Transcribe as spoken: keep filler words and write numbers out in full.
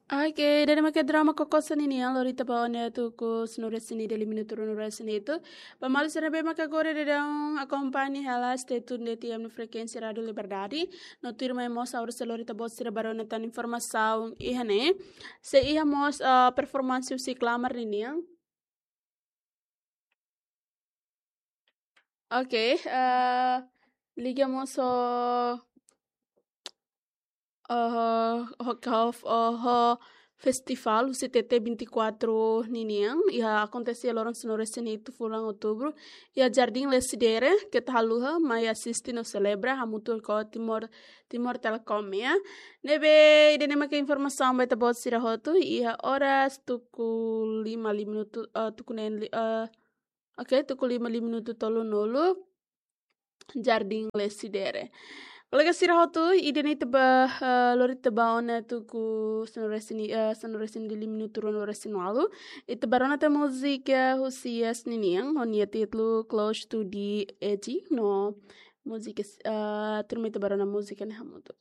Oke, ida-ne'e mak drama Kokosa ninian, lori ita ba ona tuku sanulu-resin-ida, liu minutu ruanulu-resin-hitu. Ba maluk sira ne'ebé mak agora daudaun akompaña hela Stay Tuned F M no frekuénsia Rádiu Liberdade. No tuirmai mós agora sei lori ita-boot sira ba rona tan informasaun iha ne'e. Sei iha mós, ah, performansi husi Klamar ninian. Oke, eh, liga mós ho, eh, ho, ho, ho, ho festival husi T T vinte e quatro ninian, iha akontese loron sanulu-resin-hitu fulan Outubru, iha Jardín Lecidere, keta haluha, mai asiste no selebra, hamutuk ho Timor, Timor Telecom, ya. Ne'ebé, ida-ne'e mak informasaun ba ita-boot sira hotu, iha oras tuku lima, liu minutu, eh, tuku neen, li-, eh, oke, tuku lima, liu minutu tolunulu, Jardín Lecidere. Kolega sira hotu, ida-ne'e ita ba, eh, lori ita ba ona tuku sanulu-resin-, eh, sanulu-resin-ida, liu minutu ruanulu-resin-ualu. Ita ba rona tan múzika husi Yes ninian, ho nia títulu Close to the Edge, no múzika, eh, tuirmai ita ba rona múzika ne'e hamutuk.